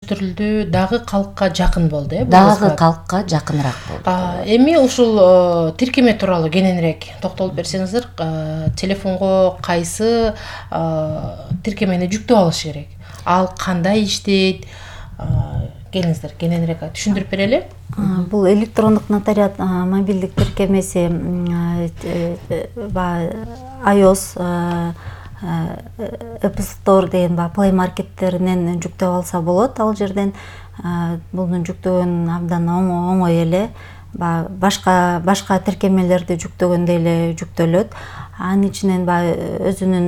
өздөштүрүлдү, дагы калкка жакын болду, Дагы калкка жакыныраак болду. Эми ушул тиркеме тууралуу кененирээк токтолуп берсеңиздер, телефонго кайсы тиркемени жүктөп алыш керек? Ал кандай иштейт? Келиңиздер, кененирээк түшүндүрүп берели. Бул электрондук нотариат мобилдик тиркемеси iOS, Apple Store деген Play Market'теринен жүктөп алса болот. Ал жерден буну жүктөгөн абдан оңой эле. Башка тиркемелерди жүктөгөндөй эле жүктөлөт. Анын ичинен өзүнүн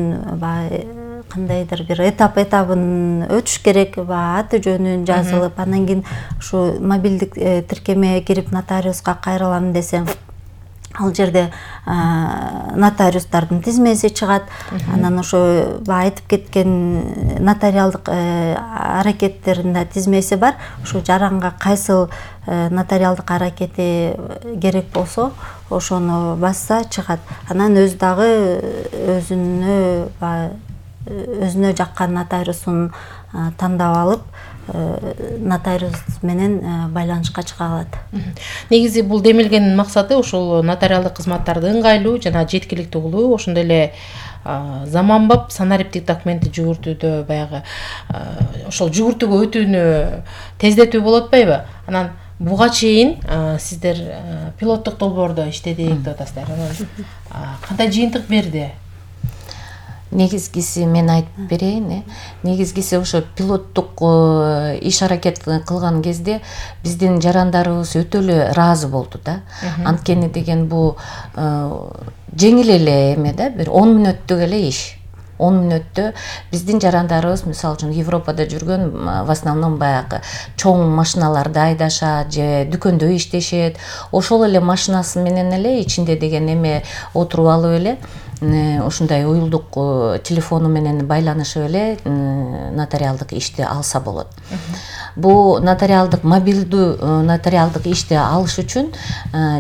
кандайдыр бир этабын өтүш керек, аты жөнүн жазылып, андан кийин ушу мобилдик тиркемеге кирип нотариуска кайрылам десе, ал жерде нотариустардын тизмеси чыгат. Анан ошо айтып кеткен нотариалдык аракеттердин да тизмеси бар. Ушу жаранга кайсыл нотариалдык аракети керек болсо, ошону басса чыгат. Анан өзү дагы өзүнө жаккан нотариусун тандап алып, нотариус менен байланышка чыга алат. Негизи бул демилгенин максаты ушул нотариалдык кызматтарды ыңгайлуу жана жеткиликтүү кылуу, ошондой эле заманбап санариптик документти жүгүртүүдө баягы ошол жүгүртүүгө өтүүнү тездетүү болуп атпайбы? Анан буга чейин сиздер пилоттук долбоордо иштедик деп атасыздар. Кандай жыйынтык берди? Негизгиси мен айтып берейин. Негизгиси ошо пилоттук иш аракет кылган кезде биздин жарандарыбыз өтө эле ыраазы болду да. Анткени деген бул жеңил эле эме да, бир 10 мүнөттүк эле иш. 10 мүнөттө биздин жарандарыбыз, мисалы үчүн Европада жүргөн, в основном баягы чоң машиналарды айдашат же дүкөндө иштешет. Ошол эле машинасы менен эле ичинде деген эме отуруп алып эле ушундай уюлдук телефону менен байланышып эле нотариалдык ишти алса болот. Бул мобилдүү нотариалдык ишти алыш үчүн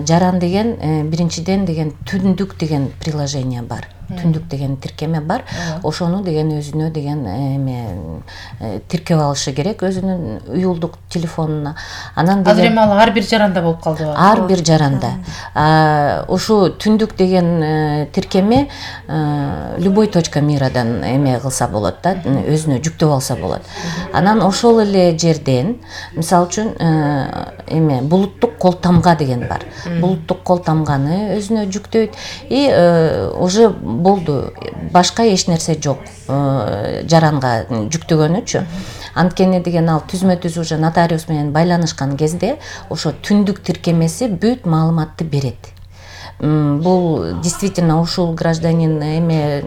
жаран деген биринчиден деген түндүк деген приложение бар. Түндүк деген тиркеме бар. Ошону деген өзүнө деген эме тиркеп алышы керек өзүнүн уюлдук телефонуна. Анан азыр эми ал ар бир жаранда болуп калды. Ар бир жаранда. Ушу түндүк деген тиркеме любой точка мирадан эме кылса болот да, өзүнө жүктөп алса болот. Анан ошол эле жерден, мисалы үчүн эме булуттук кол тамга деген бар. Булуттук кол тамганы өзүнө жүктөйт и уже болду. Башка эч нерсе жок жаранга жүктөгөнүчү. Анткени деген ал түзмө-түз уже нотариус менен байланышкан кезде ошо түндүк тиркемеси бүт маалыматты берет. Бул действительно ушул гражданин эме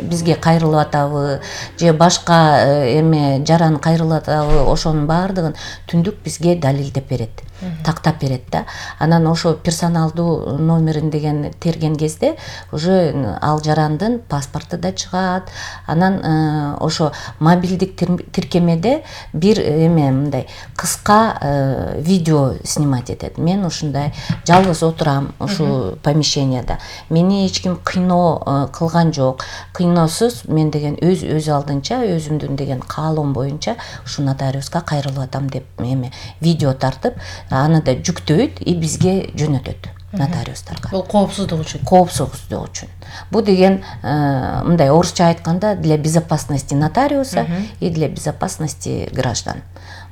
бизге кайрылып атабы же башка эме жаран кайрылып атабы, ошонун баардыгын түндүк бизге далилдеп берет, тактап берет да. Анан ошо персоналдуу номерин деген терген кезде уже ал жарандын паспорту да чыгат. Анан ошо мобилдик тиркемеде бир эме мындай кыска видео снимать этет. Мен ушундай жалгыз отурам ушу помещенияда. Мени эч ким кыйноо кылган жок. Кыйноосуз мен деген өз алдынча, өзүмдүн деген каалоом боюнча ушу нотариуска кайрылып атам деп эме видео тартып, аны да жүктөйт и бизге жөнөтөт нотариустарга. Бул коопсуздук үчүн. Коопсуздук үчүн. Бул деген мындай орусча айтканда для безопасности нотариуса и для безопасности граждан.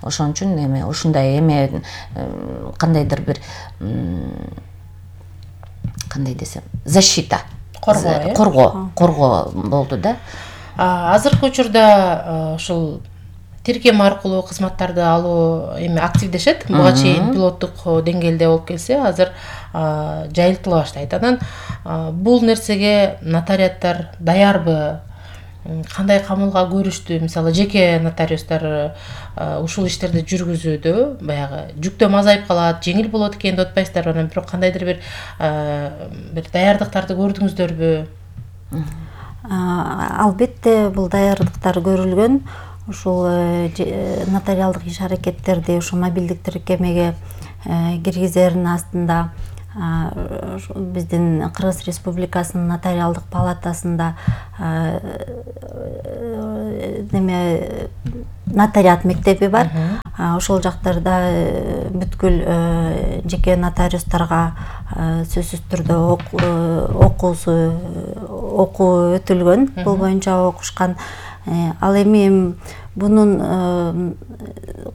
Ошон үчүн эме ушундай эме кандайдыр бир кандай десем, защита, коргоо болду да. Азыркы учурда ушул тиркеме аркылуу кызматтарды алуу эми активдешет. Буга чейин пилоттук деңгээлде болуп келсе, азыр жайылтыла баштайт. Анан бул нерсеге нотариаттар даярбы? Кандай камылга көрүштү? Мисалы, жеке нотариустар ушул иштерди жүргүзүүдө баягы жүктөм азайып калат, жеңил болот экен деп атпайсыздарбы? Анан бирок кандайдыр бир даярдыктарды көрдүңүздөрбү? Албетте бул даярдыктар көрүлгөн. Ушул нотариалдык иш аракеттерди ушу мобилдик тиркемеге киргизердин астында биздин Кыргыз Республикасынын нотариалдык палатасында нотариат мектеби бар. Ошол жактарда бүткүл жеке нотариустарга сөзсүз түрдө окуу өтүлгөн, бул боюнча окушкан. Ал эми бунун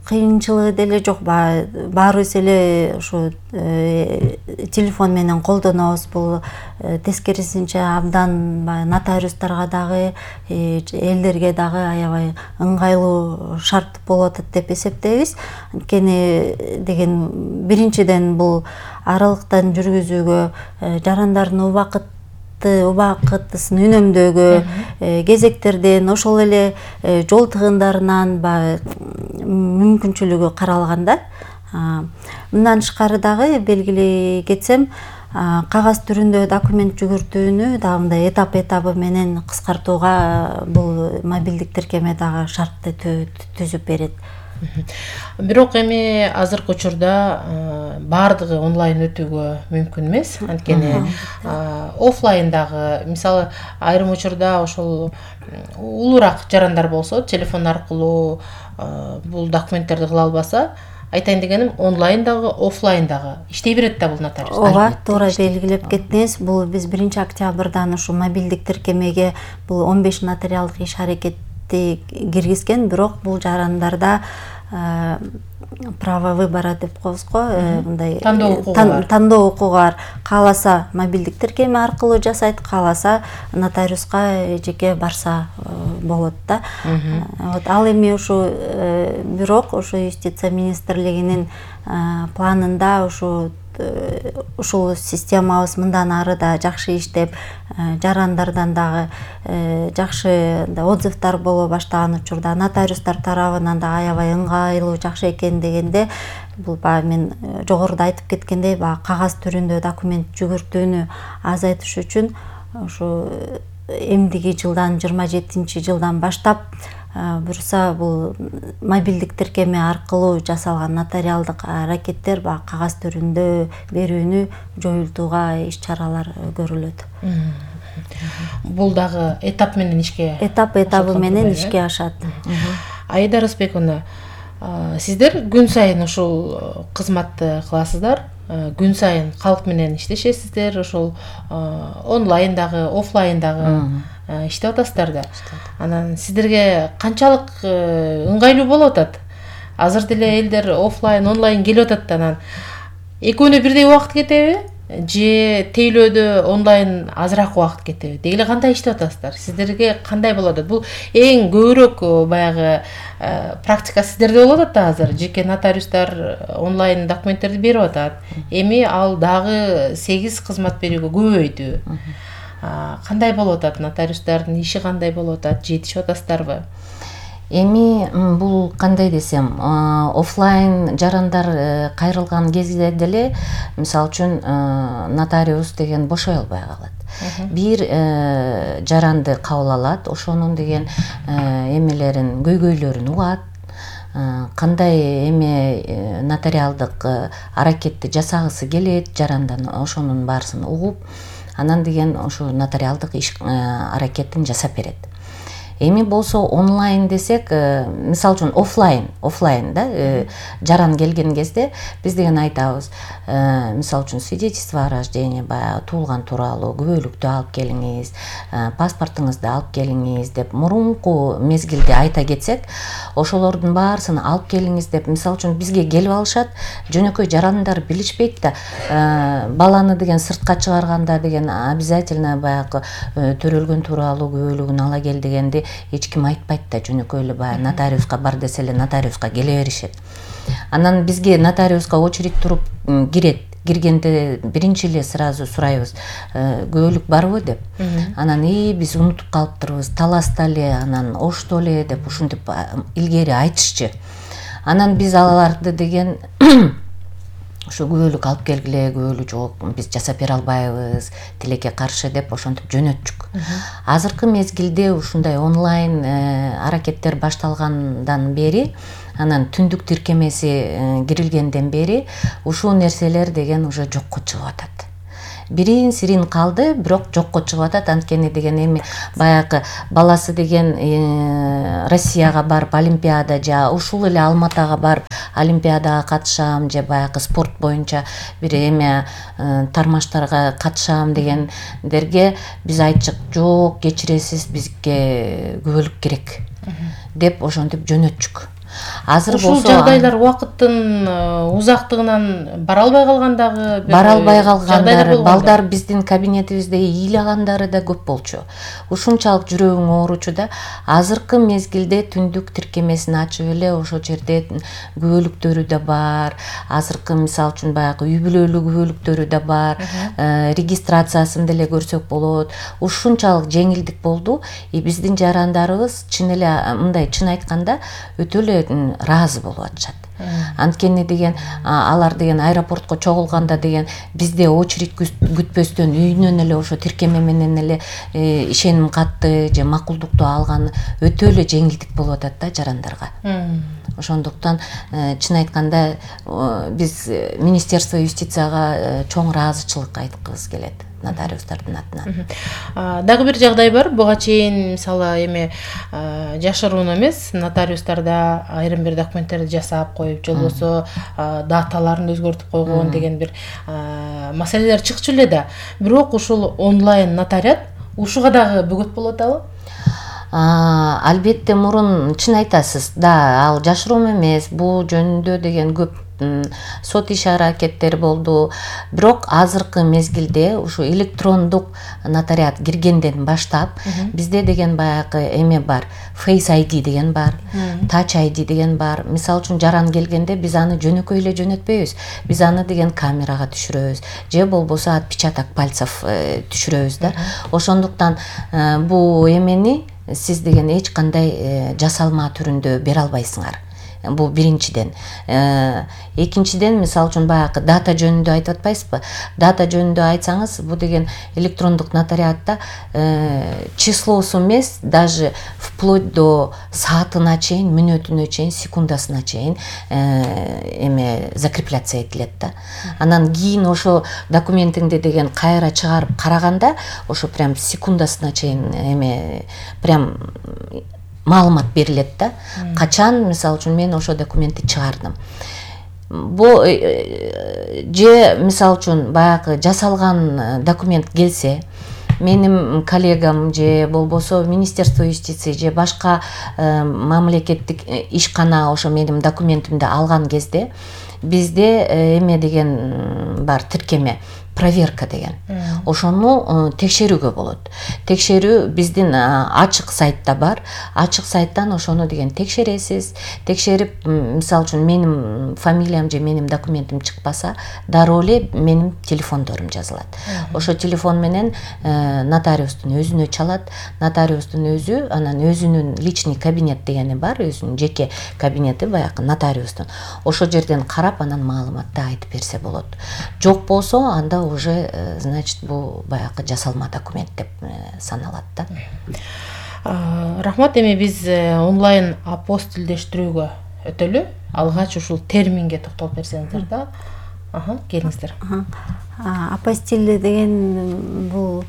кыйынчылыгы деле жок. Баарыбыз эле ушу телефон менен колдонобуз. Бул тескерисинче абдан нотариустарга дагы, элдерге дагы аябай ыңгайлуу шарт болуп атат деп эсептейбиз. Анткени деген биринчиден бул аралыктан жүргүзүүгө, жарандардын убакытысын үнөмдөөгө, кезектерден, ошол эле жол тыгындарынан мүмкүнчүлүгү каралган да. Мындан тышкары дагы белгилей кетсем, кагаз түрүндө документ жүгүртүүнү дагы мындай этап менен кыскартууга бул мобилдик тиркеме дагы шартты түзүп берет. Бирок эми азыркы учурда баардыгы онлайн өтүүгө мүмкүн эмес. Анткени офлайндагы, мисалы, айрым учурда ошол улуураак жарандар болсо, телефон аркылуу бул документтерди кыла албаса, айтайын дегеним, онлайндагы, офлайндагы иштей берет да бул нотариус. Ооба, туура белгилеп кеттиңиз. Бул биз 1 октябрдан ушу мобилдик тиркемеге бул 15 нотариалдык иш аракетти киргизген, бирок бул жарандарда право выбора деп коебуз го, мындай тандоо укугу бар. Кааласа мобилдик тиркеме аркылуу жасайт, кааласа нотариуска жеке барса болот да. Ал эми ушу бирок ушу юстиция министрлигинин планында ушул системабыз мындан ары да жакшы иштеп, жарандардан дагы жакшы отзывдар боло баштаган учурда, нотариустар тарабынан да аябай ыңгайлуу, жакшы экен дегенде, бул мен жогоруда айтып кеткендей, кагаз түрүндө документ жүгүртүүнү азайтыш үчүн ушу эмдиги жылдан 27-жылдан баштап буюрса бул мобилдик тиркеме аркылуу жасалган нотариалдык аракеттер кагаз түрүндө берүүнү жоюлтууга иш-чаралар көрүлөт. Бул дагы этап менен этабы менен ишке ашат. Аида Рысбековна, сиздер күн сайын ушул кызматты кыласыздар. Күн сайын калк менен иштешесиздер, ошол онлайндагы, офлайндагы иштеп атасыздар да. Анан сиздерге канчалык ыңгайлуу болуп атат? Азыр деле элдер офлайн, онлайн келип атат да, анан экөөнө бирдей убакыт кетеби? Же тейлөөдө онлайн азыраак убакыт кетеби? Деги эле кандай иштеп атасыздар? Сиздерге кандай болуп атат? Бул эң көбүрөөк баягы практика сиздерде болуп атат да азыр. Жеке нотариустар онлайн документтерди берип атат. Эми ал дагы 8 кызмат берүүгө көбөйдү. Кандай болуп атат? Нотариустардын иши кандай болуп атат? Жетишип атасыздарбы? Эми бул кандай десем, офлайн жарандар кайрылган кезде деле, мисалы үчүн, нотариус деген бошой албай калат. Бир жаранды кабыл алат, ошонун деген эмелерин, көйгөйлөрүн угат, кандай эме нотариалдык аракетти жасагысы келет жарандан, ошонун баарысын угуп, анан деген ошо нотариалдык иш аракетин жасап берет. Эми болсо онлайн десек, мисалы үчүн офлайн да, жаран келген кезде биз деген айтабыз, мисалы үчүн свидетельство о рождении, туулган тууралуу күбөлүктү алып келиңиз, паспортуңузду алып келиңиз деп мурунку мезгилде айта кетсек, ошолордун баарысын алып келиңиз деп, мисалы үчүн бизге келип алышат. Жөнөкөй жарандар билишпейт да, баланы деген сыртка чыгарганда деген обязательно баягы төрөлгөн тууралуу күбөлүгүн ала кел дегенди эч ким айтпайт да, жөнөкөй эле баягы нотариуска бар десе эле нотариуска келе беришет. Анан бизге нотариуска очередь туруп киргенде биринчи эле сразу сурайбыз, күбөлүк барбы деп. Анан биз унутуп калыптырбыз, таласта эле, анан ошто эле деп ушинтип илгери айтышчы. Анан биз аларды деген ошо күбөлүк алып келгиле, күбөлүк жок, биз жасап бере албайбыз, тилекке каршы деп ошентип жөнөтчүк. Азыркы мезгилде ушундай онлайн аракеттер башталгандан бери, анан түндүк тиркемеси кирилгенден бери ушул нерселер деген уже жокко чыгып атат. бирин сирин калды, бирок жокко чыгып атат. Анткени деген эми баягы баласы деген Россияга барып олимпиада же ушул эле Алматага барып олимпиадага катышам же баягы спорт боюнча бир эме тармаштарга катышам дегендерге биз айттык, жок, кечиресиз, бизге күбөлүк керек деп ошентип жөнөтчүк. Азыр болсо ушул жагдайлар убакыттын узактыгынан бара албай калгандары, балдар биздин кабинетибизде ыйлагандары да көп болчу. Ушунчалык жүрөгүң ооручу да. Азыркы мезгилде түндүк тиркемесин ачып эле ошол жерде күбөлүктөрү да бар. Азыркы мисалы үчүн баягы үй бүлөлүк күбөлүктөрү да бар. Регистрациясын деле көрсөк болот. Ушунчалык жеңилдик болду. Биздин жарандарыбыз чын эле мындай чын айтканда өтө эле ыраазы болуп атышат. Анткени деген алар деген аэропортко чогулганда деген бизде очередь күтпөстөн үйүнөн эле ошо тиркеме менен эле ишеним катты же макулдукту алган өтө эле жеңилдик болуп атат да жарандарга. Ошондуктан чын айтканда биз Министерство юстицияга чоң ыраазычылык айткыбыз келет нотариустардын атынан. Дагы бир жагдай бар. Буга чейин мисалы эми жашыруун эмес, нотариустарда айрым бир документтерди жасап коюп, же болбосо даталарын өзгөртүп койгон деген бир маселелер чыкчу эле да. Бирок ушул онлайн нотариат ушуга дагы бөгөт болуп атабы? Албетте мурун чын айтасыз. Да, ал жашыруум эмес. Бул жөнүндө деген көп сот иш аракеттери болду. Бирок азыркы мезгилде ушу электрондук нотариат киргенден баштап бизде деген баягы эме бар. Face ID деген бар, Touch ID деген бар. Мисалы үчүн жаран келгенде биз аны жөнөкөй эле жөнөтпөйбүз. Биз аны деген камерага түшүрөбүз, же болбосо отпечаток пальцев түшүрөбүз да. Ошондуктан бул эмени сиз деген эч кандай жасалма түрүндө бере албайсыңар. Бул биринчиден. Экинчиден, мисалы үчүн баягы дата жөнүндө айтып атпайсызбы? Дата жөнүндө айтсаңыз, бул деген электрондук нотариатта числосу эмес, даже вплоть до саатына чейин, мүнөтүнө чейин, секундасына чейин эме закрепляция этилет да. Анан кийин ошо документиңди деген кайра чыгарып караганда, ошо прям секундасына чейин эме прям маалымат берилет да. Качан, мисалы үчүн, мен ошо документти чыгардым. Бул же мисалы үчүн баягы жасалган документ келсе, менин коллегам же болбосо Министерство юстиции же башка мамлекеттик ишкана ошо менин документимди алган кезде бизде эме деген бар, тиркеме, проверка деген. Ошону текшерүүгө болот. Текшерүү биздин ачык сайтта бар. Ачык сайттан ошону деген текшересиз. Текшерип, мисалы үчүн менин фамилиям же менин документим чыкпаса, дароо эле менин телефондорум жазылат. Ошо телефон менен нотариустун өзүнө чалат. Нотариустун өзү анан өзүнүн личный кабинет дегени бар, өзүнүн жеке кабинети баягы нотариустун. Ошо жерден карап, анан маалыматты айтып берсе болот. Жок болсо, анда уже, значит, бул баягы жасалма документ деп саналат да. Рахмат. Эми биз онлайн апостилдештирүүгө өтөлү. Алгач ушул терминге токтолуп берсеңиздер да. Келиңиздер. Апостиль деген бул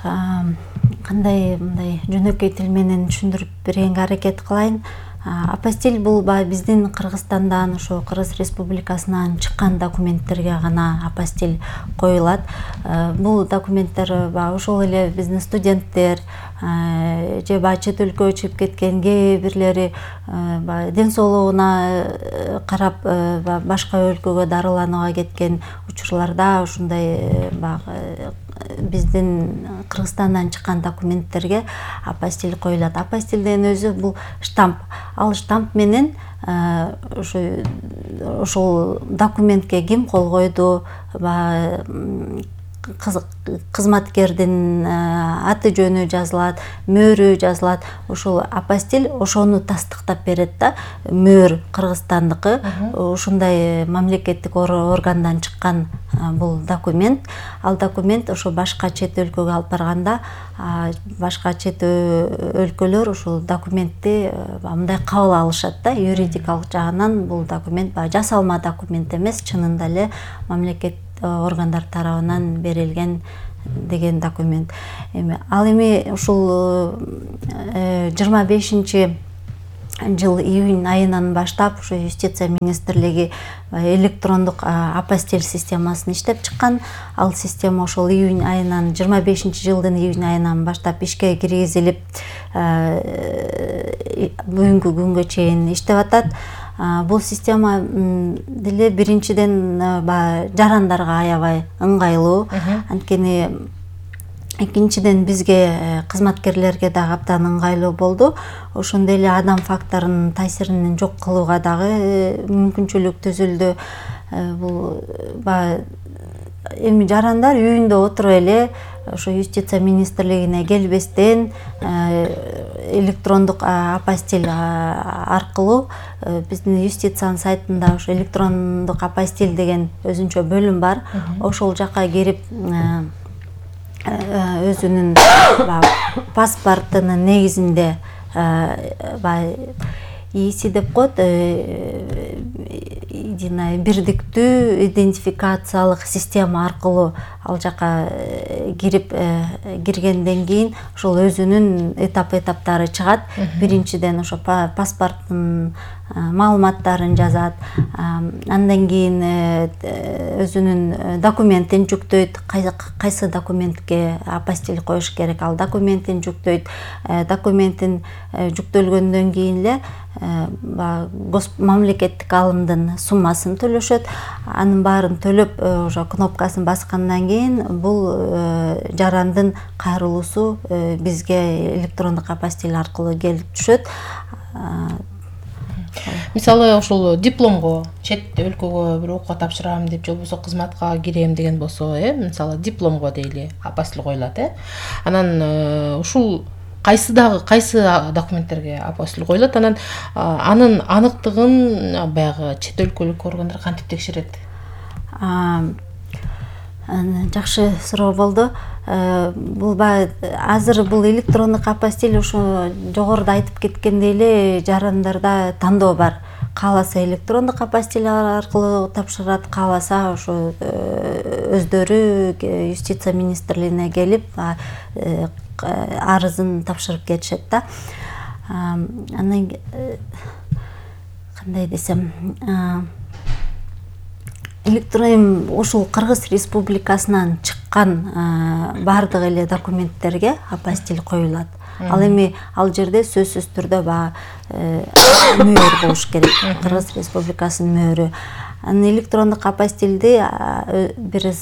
кандай мындай жөнөкөй тил менен түшүндүрүп бергенге аракет кылайын. Апостиль бул биздин Кыргызстандан, ошо Кыргыз Республикасынан чыккан документтерге гана апостиль коюлат. Бул документтер ошол эле биздин студенттер же чет өлкөгө чыгып кеткен кээ бирлери ден соолугуна карап башка өлкөгө дарыланууга кеткен учурларда ушундай биздин Кыргызстандан чыккан документтерге апостиль коюлат. Апостиль деген өзү бул штамп. Ал штамп менен ошол документке ким кол койду, кызматкердин аты жөнү жазылат, мөөрү жазылат. Ошол апостиль ошону тастыктап берет да. Мөөр Кыргызстандыкы, ушундай мамлекеттик органдан чыккан бул документ. Ал документ ошо башка чет өлкөгө алып барганда, башка чет өлкөлөр ушул документти мындай кабыл алышат да. Юридикалык жагынан бул документ жасалма документ эмес, чынында эле мамлекет органдар тарабынан берилген деген документ. Ал эми ушул 25 жыл июнь айынан баштап ушу юстиция министрлиги электрондук апостиль системасын иштеп чыккан. Ал система ошол июнь айынан 25 жылдын июнь айынан баштап ишке киргизилип бүгүнкү күнгө чейин иштеп атат. Бул система деле биринчиден жарандарга аябай ыңгайлуу. Анткени экинчиден бизге кызматкерлерге дагы абдан ыңгайлуу болду. Ошондой эле адам факторунун таасирин жок кылууга дагы мүмкүнчүлүк түзүлдү. Бул эми жарандар үйүндө отуруп эле ошо юстиция министрлигине келбестен электрондук апостиль аркылуу биздин юстициянын сайтында ошо электрондук апостиль деген өзүнчө бөлүм бар. Ошол жака кирип өзүнүн паспортунун негизинде ИСИ деп коет, бирдиктүү идентификациялык система аркылуу ал жака киргенден кийин ошол өзүнүн этаптары чыгат. Биринчиден ошо паспорттун маалыматтарын жазат, андан кийин өзүнүн документин жүктөйт, кайсы документке апостиль коюш керек, ал документин жүктөйт. Документин жүктөлгөндөн кийин эле мамлекеттик алымдын суммасын төлөшөт. Анын баарын төлөп ошо кнопкасын баскандан кийин бул жарандын кайрылуусу бизге электрондук апостиль аркылуу келип түшөт. Мисалы ушул дипломго чет өлкөгө бир окууга тапшырам деп же болбосо кызматка кирем деген болсо, мисалы дипломго дейли апостиль коюлат, анан ушул кайсы документтерге апостиль коюлат, анан анын аныктыгын баягы чет өлкөлүк органдар кантип текшерет? Жакшы суроо болду. Азыр бул электрондук апостиль ошо жогоруда айтып кеткендей эле жарандарда тандоо бар. Кааласа электрондук апостиль аркылуу тапшырат, кааласа ошо өздөрү юстиция министрлигине келип арызын тапшырып кетишет да. Анан кандай десем, ушул Кыргыз Республикасынан чыккан баардык эле документтерге апостиль коюлат. Ал эми ал жерде сөзсүз түрдө мөөр болуш керек, Кыргыз Республикасынын мөөрү. Анын электрондук апостилди бир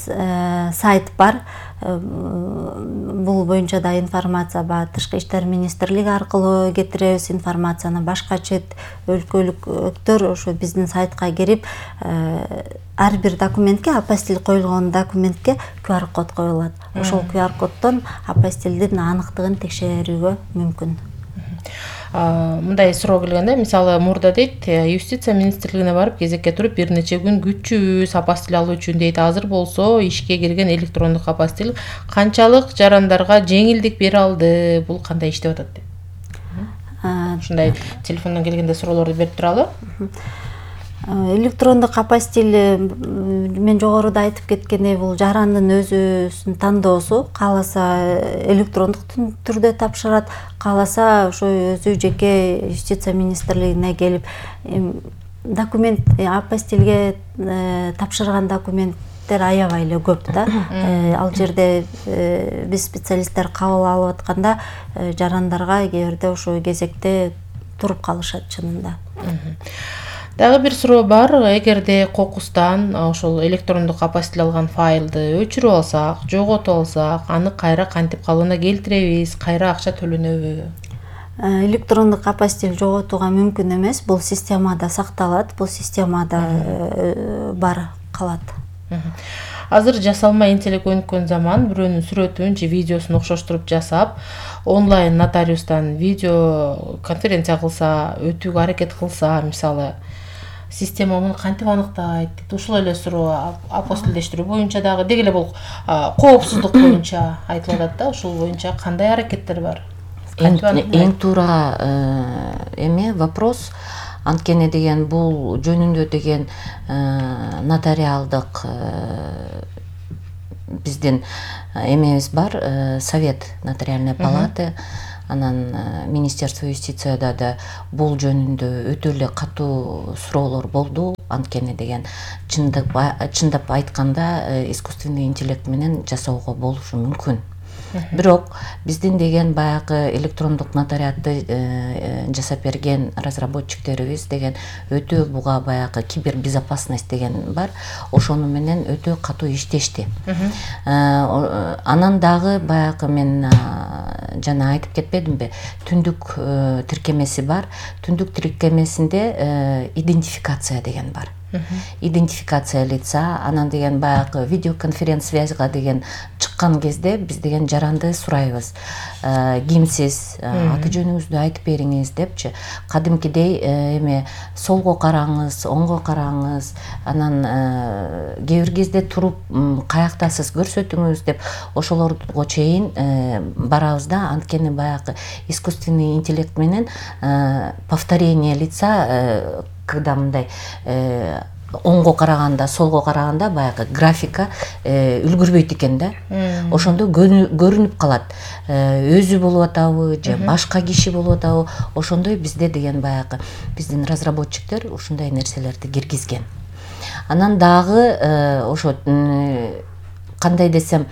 сайт бар. Бул боюнча да информация Тышкы иштер министрлиги аркылуу кетиребиз информацияны. Башка чет өлкөлүктөр ошо биздин сайтка кирип ар бир документке, апостиль коюлгон документке QR код коюлат. Ошол QR коддон апостилдин аныктыгын текшерүүгө мүмкүн. Мындай суроо келгенде, мисалы мурда дейт, юстиция министрлигине барып кезекке туруп бир нече күн күтчүбүз апостиль алуу үчүн дейт. Азыр болсо ишке кирген электрондук апостиль канчалык жарандарга жеңилдик бере алды? Бул кандай иштеп атат деп? Ушундай телефондон келгенде суроолорду берип туралы. Электрондук апостиль мен жогоруда айтып кеткендей бул жарандын өзүнүн тандоосу. Кааласа электрондук түрдө тапшырат, кааласа ошо өзү жеке юстиция министрлигине келип документ апостильге тапшырган документтер аябай эле көп да. Ал жерде биз специалисттер кабыл алып атканда жарандарга кээ бирде ошо кезекте туруп калышат чынында. Дагы бир суроо бар. Эгерде кокустан ошол электрондук апостиль алган файлды өчүрүп алсак, жоготуп алсак, аны кайра кантип калыбына келтиребиз, кайра акча төлөнөбү? Электрондук апостиль жоготууга мүмкүн эмес. Бул системада сакталат, бул системада бар калат. Азыр жасалма интеллект өнүккөн заман, бирөөнүн сүрөтүн же видеосун окшоштуруп жасап, онлайн нотариустан видео конференция кылса, өтүүгө аракет кылса, мисалы, система муну кантип аныктайт? Ушул эле суроо апостилдештирүү боюнча дагы деги эле бул коопсуздук боюнча айтылып атат да, ушул боюнча кандай аракеттер бар? Эң туура вопрос. Анткени деген бул жөнүндө деген нотариалдык биздин эмебиз бар, Совет нотариальной палаты, анан Министерство юстицияда да бул жөнүндө өтө эле катуу суроолор болду. Анткени деген чындап айтканда искусственный интеллект менен жасоого болушу мүмкүн. Бирок биздин деген баягы электрондук нотариатты жасап берген разработчиктерибиз деген өтө буга баягы кибербезопасность деген бар. Ошону менен өтө катуу иштешти. Анан дагы баягы мен жана айтып кетпедимби, түндүк тиркемеси бар. Түндүк тиркемесинде идентификация деген бар. Идентификация лица, анан деген баягы видеоконференц-связьга деген чыккан кезде биз деген жаранды сурайбыз. Кимсиз, аты жөнүңүздү айтып бериңиз депчи. Кадимкидей эме солго караңыз, оңго караңыз, анан кээ бир кезде туруп каяктасыз көрсөтүңүз деп ошолорго чейин барабыз да. Анткени баягы искусственный интеллект менен повторение лица, когда мындай оңго караганда, солго караганда баягы графика үлгүрбөйт экен да. Ошондо көрүнүп калат. Өзү болуп атабы же башка киши болуп атабы. Ошондой бизде деген баягы биздин разработчиктер ушундай нерселерди киргизген. Анан дагы ошо кандай десем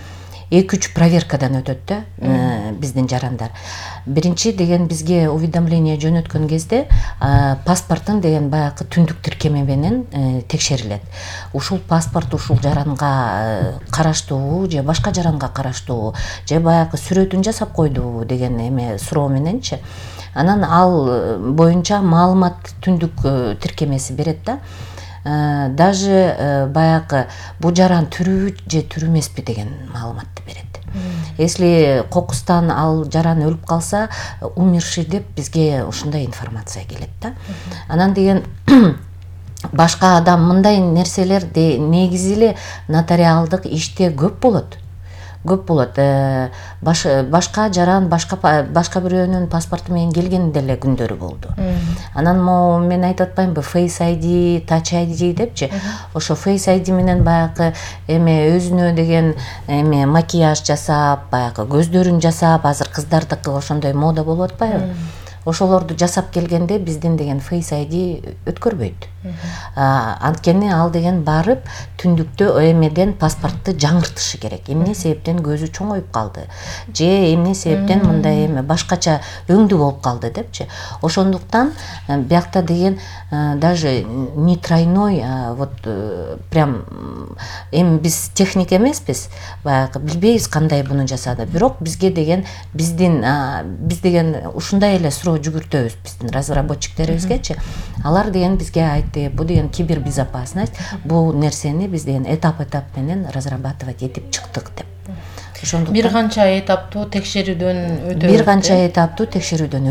2-3 проверкадан өтөт да биздин жарандар. Биринчи деген бизге уведомление жөнөткөн кезде паспортун деген баягы түндүк тиркеме менен текшерилет. Ушул паспорт ушул жаранга караштуубу же башка жаранга караштуубу же баягы сүрөтүн жасап койдубу деген эме суроо мененчи. Анан ал боюнча маалымат түндүк тиркемеси берет да. Даже баягы бу жаран түрүбү же түрү эмеспи деген маалыматты берет. Если кокустан ал жаран өлүп калса, умерший деп бизге ушундай информация келет да. Анан деген башка адам мындай нерселер негизи эле нотариалдык иште көп болот. Башка жаран башка бирөөнүн паспорту менен келген деле күндөрү болду. Анан мен айтып атпаймынбы, Face ID, Touch ID депчи. Ошо Face ID менен баягы эме өзүнө деген эме макияж жасап, баягы көздөрүн жасап, азыр кыздардыкы ошондой мода болуп атпайбы? Ошолорду жасап келгенде биздин деген Face ID өткөрбөйт. Анткени ал деген барып түндүктө эмеден паспортту жаңыртышы керек. Эмне себептен көзү чоңоюп калды же эмне себептен мындай эме башкача өңдү болуп калды депчи. Ошондуктан биякта деген даже не тройной, вот прям эми биз техник эмеспиз, баягы билбейбиз кандай буну жасады. Бирок бизге деген биз деген ушундай эле суроо жүгүртөбүз биздин разработчиктерибизгечи. Алар деген бизге айтты, бу деген кибербезопасность, бу нерсени биз деген этап менен разрабатывать этип чыктык деп. Ошондуктан бир канча этаптуу текшерүүдөн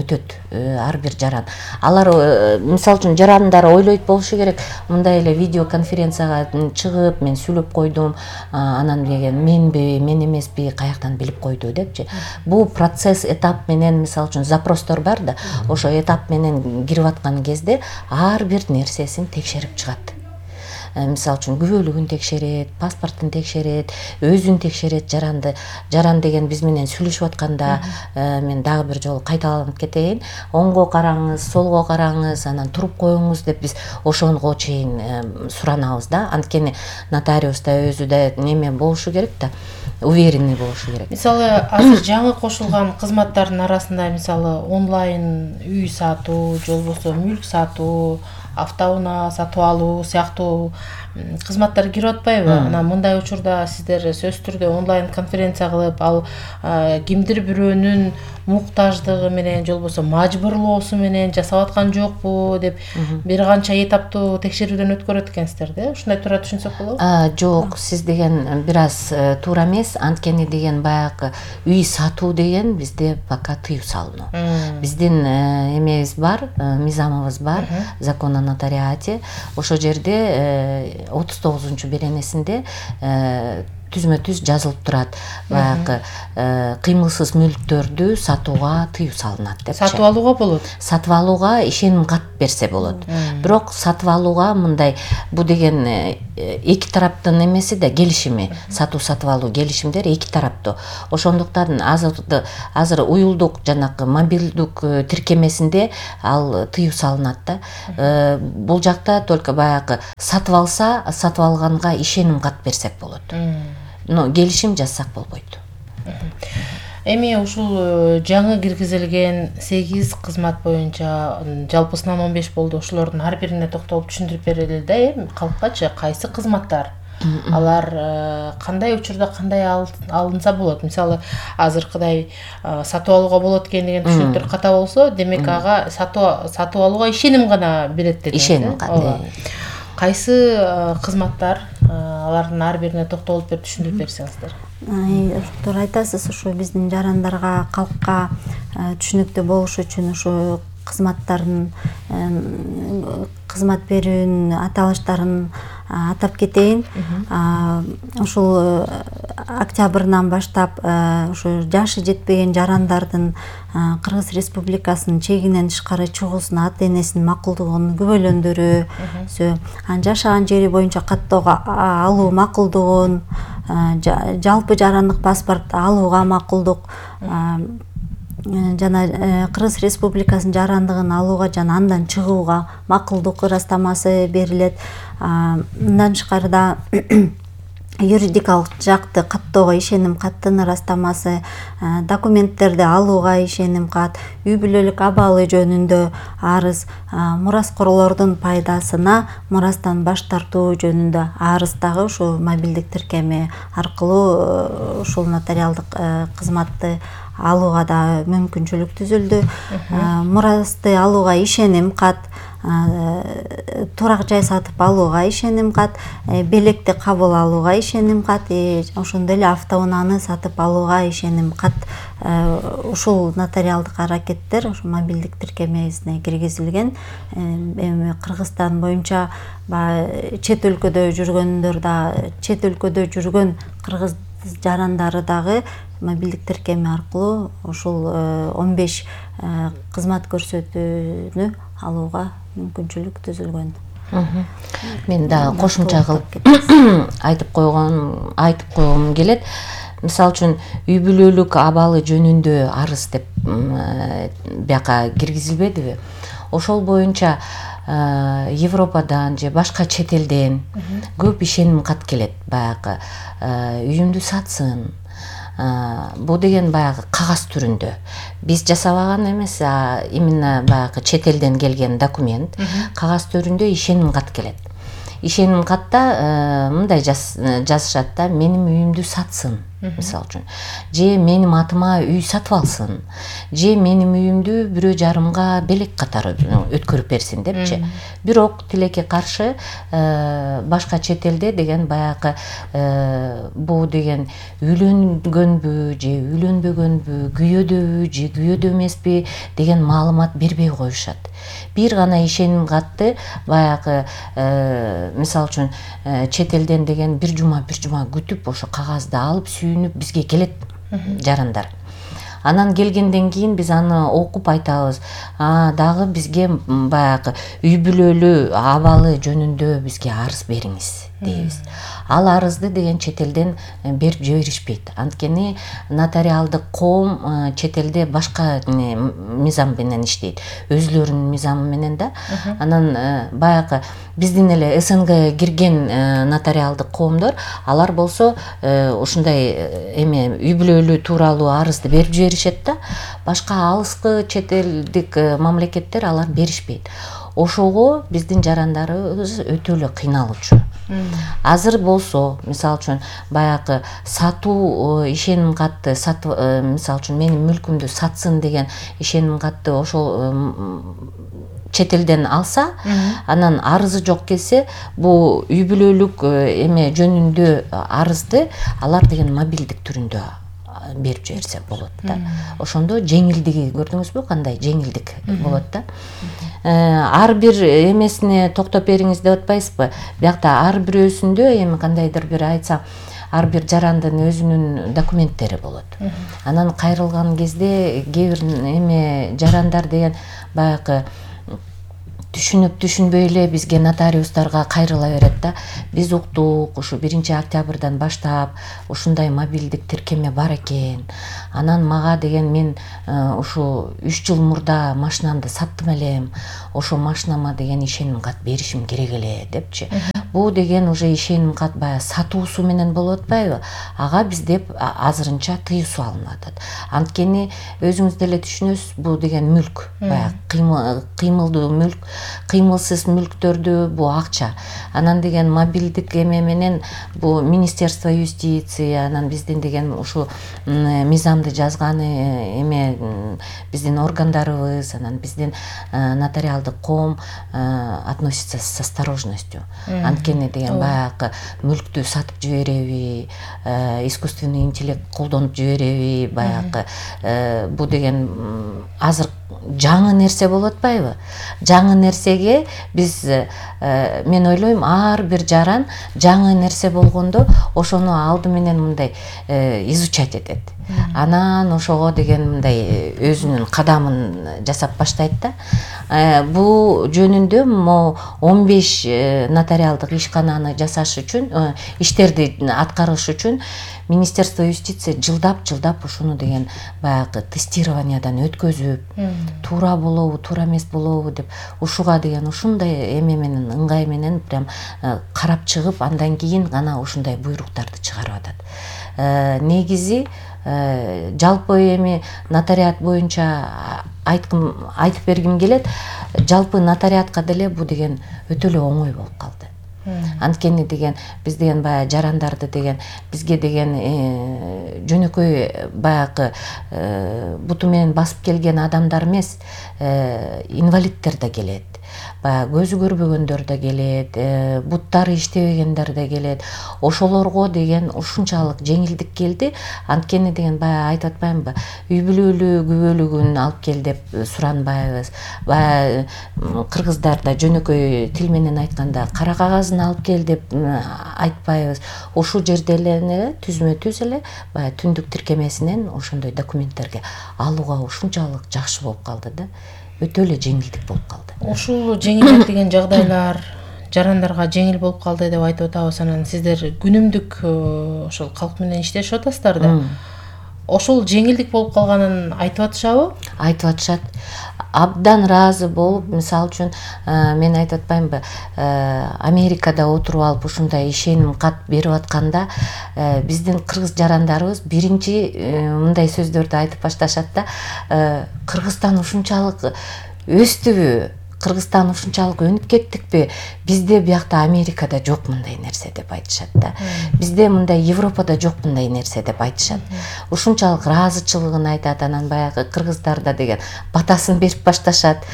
өтөт ар бир жаран. Алар мисалы үчүн жарандар ойлойт болушу керек, мындай эле видеоконференцияга чыгып мен сүйлөп койдум, анан деген мен эмеспи, каяктан билип койду депчи. Бул процесс этап менен, мисалы үчүн запростор бар да, ошо этап менен кирип аткан кезде ар бир нерсесин текшерип чыгат. Мисалы үчүн күбөлүгүн текшерет, паспортун текшерет, өзүн текшерет жаранды. Жаран деген биз менен сүйлөшүп атканда мен дагы бир жолу кайталанып кетейин. Оңго караңыз, солго караңыз, анан туруп коюңуз деп биз ошого чейин суранабыз да. Анткени нотариуста өзү да неме болушу керек да, уверенный болушу керек. Мисалы азыр жаңы кошулган кызматтардын арасында мисалы онлайн үй сатуу, же болбосо мүлк сатуу, автоунаа сатып алуу сыяктуу кызматтар кирип атпайбы? Анан мындай учурда сиздер сөзсүз түрдө онлайн конференция кылып, ал кимдир бирөөнүн муктаждыгы менен же болбосо мажбурлоосу менен жасап аткан жокпу деп бир канча этаптуу текшерүүдөн өткөрөт экенсиздер да? Ушундай туура түшүнсөк болобу? Жок, сиз деген бир аз туура эмес. Анткени деген баягы үй сатуу деген бизде пока тыюу салыну. Биздин эмебиз бар, мыйзамыбыз бар, закон о нотариате. Ошол жерде 39-беренесинде түзмө түз жазылып турат, баягы кыймылсыз мүлктөрдү сатууга тыюу салынат депчи. Сатып алууга болот. Сатып алууга ишеним кат берсе болот. Бирок сатып алууга мындай бу деген эки тараптын эмеси да келишими, сатып алуу келишимдер эки тараптуу. Ошондуктан азыр уюлдук жанакы мобилдик тиркемесинде ал тыюу салынат да. Бул жакта только баягы сатып алса, сатып алганга ишеним кат берсек болот. Но келишим жазсак болбойт. Эми ушул жаңы киргизилген 8 кызмат боюнча жалпысынан 15 болду. Ошолордун ар бирине токтолуп түшүндүрүп берели да, калккачы кайсы кызматтар? Алар кандай учурда кандай алынса болот? Мисалы, азыркыдай сатып алууга болот экен деген түшүнүктөр ката болсо, демек ага сатып алууга ишеним гана берет дедиңиз. Ишеним кат. Кайсы кызматтар? Алардын ар бирине токтолуп берип түшүндүрүп берсеңиздер. Туура айтасыз, ушу биздин жарандарга, калкка түшүнүктүү болуш үчүн ушу кызматтардын кызмат берүүнүн аталыштарын атап кетейин. Ушул октябрдан баштап ушу жашы жетпеген жарандардын Кыргыз Республикасынын чегинен тышкары чыгуусуна ата энесинин макулдугун күбөлөндүрүү, жашаган жери боюнча каттоого алуу макулдугун, жалпы жарандык паспорт алууга макулдук, жана Кыргыз Республикасынын жарандыгын алууга жана андан чыгууга макулдук ырастамасы берилет. Мындан тышкарыда юридикалык жакты каттоого ишеним каттын ырастамасы, документтерди алууга ишеним кат, үй бүлөлүк абалы жөнүндө арыз, мураскорлордун пайдасына мурастан баш тартуу жөнүндө арыз дагы ушул мобилдик тиркеми аркылуу ушул нотариалдык кызматты алууга да мүмкүнчүлүк түзүлдү. Мурасты алууга ишеним кат, турак жай сатып алууга ишеним кат, белекти кабыл алууга ишеним кат, ошондой эле автоунааны сатып алууга ишеним кат. Ушул нотариалдык аракеттер ушул мобилдик тиркемесине киргизилген. Эми Кыргызстан боюнча чет өлкөдө жүргөндөр да, чет өлкөдө жүргөн кыргыз жарандары дагы мобилдик тиркеми аркылуу ушул 15 кызмат көрсөтүүнү алууга мүмкүнчүлүк түзүлгөн. Мен дагы кошумча кылып айтып койгум келет. Мисалы үчүн үй бүлөлүк абалы жөнүндө арыз деп бияка киргизилбедиби? Ошол боюнча Европадан же башка чет элден көп ишеним кат келет. Баягы үйүмдү сатсын. Бу деген баягы кагаз түрүндө. Биз жасабаган эмес, именно баягы чет элден келген документ кагаз түрүндө ишеним кат келет. Ишеним катта мындай жазышат да, менин үйүмдү сатсын, мисалы үчүн. Же менин атыма үй сатып алсын. Же менин үйүмдү бирөө жарымга белек катары өткөрүп берсин депчи. Бирок тилекке каршы башка чет элде деген баягы бул деген үйлөнгөнбү же үйлөнбөгөнбү, күйөөдөбү же күйөөдө эмеспи деген маалымат бербей коюшат. Бир гана ишеним катты баягы мисалы үчүн чет элден деген бир жума күтүп ошо кагазды алып сүйүнүп бизге келет жарандар. Анан келгенден кийин биз аны окуп айтабыз. Дагы бизге баягы үй бүлөлүү абалы жөнүндө бизге арыз бериңиз дейбиз. Ал арызды деген чет элден берип жиберишпейт. Анткени нотариалдык коом чет элде башка мыйзам менен иштейт. Өзүлөрүнүн мыйзамы менен да. Анан баягы биздин эле СНГ кирген нотариалдык коомдор, алар болсо ушундай үй бүлөлүү тууралуу арызды берип жиберишет да. Башка алыскы чет элдик мамлекеттер алар беришпейт. Ошого биздин жарандарыбыз өтө эле кыйналуучу. Азыр болсо, мисалы үчүн баягы сатуу ишеним катты мисалы үчүн менин мүлкүмдү сатсын деген ишеним катты ошол чет элден алса, анан арызы жок келсе, бул үй бүлөлүк эме жөнүндө арызды алар деген мобилдик түрүндө берип жиберсе болот да. Ошондо жеңилдиги көрдүңүзбү, кандай жеңилдик болот да. Ар бир эмесине токтоп бериңиз деп атпайсызбы? Биякта ар бирөөсүндө эми кандайдыр бир айтсам, ар бир жарандын өзүнүн документтери болот. Анан кайрылган кезде кээ бир эме жарандар деген баягы түшүнүп түшүнбөй эле бизге нотариустарга кайрыла берет да. Биз уктук, ушу 1-октябрдан баштап ушундай мобилдик тиркеме бар экен. Анан мага деген мен ушу 3 жыл мурда машинамды саттым элем. Ошо машинама деген ишеним кат беришим керек эле депчи. Бул деген уже ишеним кат баягы сатуусу менен болуп атпайбы? Ага бизде азырынча тыюу салынып атат. Анткени өзүңүз деле түшүнөсүз, бул деген мүлк, баягы кыймылдуу мүлк. Кыймылсыз мүлктөрдү бул акча. Анан деген мобилдик эме менен бул Министерство юстиция, анан биздин деген ушу мыйзамды жазганы эме биздин органдарыбыз, анан биздин нотариалдык коом относится с осторожностью. Анткени деген баягы мүлктү сатып жибереби, искусственный интеллект колдонуп жибереби, баягы бул деген азыр жаңы нерсе болуп атпайбы? Жаңы нерсеге биз мен ойлойм ар бир жаран жаңы нерсе болгондо ошону алды менен мындай изучать этет. Анан ошого деген мындай өзүнүн кадамын жасап баштайт да. Бул жөнүндө 15 нотариалдык ишкананы жасаш үчүн, иштерди аткарыш үчүн Министерство юстиция жылдап ушуну деген баягы тестированиядан өткөзүп, туура болобу, туура эмес болобу деп ушуга деген ушундай эме менен, ыңгай менен прям карап чыгып, андан кийин гана ушундай буйруктарды чыгарып атат. Негизи жалпы эми нотариат боюнча айтып бергим келет. Жалпы нотариатка деле бул деген өтө эле оңой болуп калды. Анткени деген биз деген баягы жарандарды деген бизге деген жөнөкөй баягы буту менен басып келген адамдар эмес, инвалиддер да келет. Баягы көзү көрбөгөндөр да келет, буттары иштебегендер да келет. Ошолорго деген ушунчалык жеңилдик келди. Анткени деген баягы айтып атпаймынбы? Үй бүлөлүү күбөлүгүн алып кел деп суранбайбыз. Баягы кыргыздарда жөнөкөй тил менен айтканда кара кагазын алып кел деп айтпайбыз. Ошол жерде эле түзмө-түз эле баягы түндүк тиркемесинен ошондой документтерге алууга ушунчалык жакшы болуп калды да. Өтө эле жеңилдик болуп калды. Ушул жеңилдик деген жагдайлар жарандарга жеңил болуп калды деп айтып атабыз. Анан сиздер күнүмдүк ошол калк менен иштешип атасыздар да. Ошол жеңилдик болуп калганын айтып атышабы? Айтып атышат. Абдан ыраазы болуп, мисалы үчүн мен айтып атпаймынбы, Америкада отуруп алып ушундай ишеним кат берип атканда биздин кыргыз жарандарыбыз биринчи мындай сөздөрдү айтып башташат да. Кыргызстан ушунчалык өстүбү? Кыргызстан ушунчалык өнүп кеттикпи? Бизде биякта Америкада жок мындай нерсе деп айтышат да. Бизде мындай Европада жок мындай нерсе деп айтышат. Ушунчалык ыраазычылыгын айтат. Анан баягы кыргыздарда деген батасын берип башташат.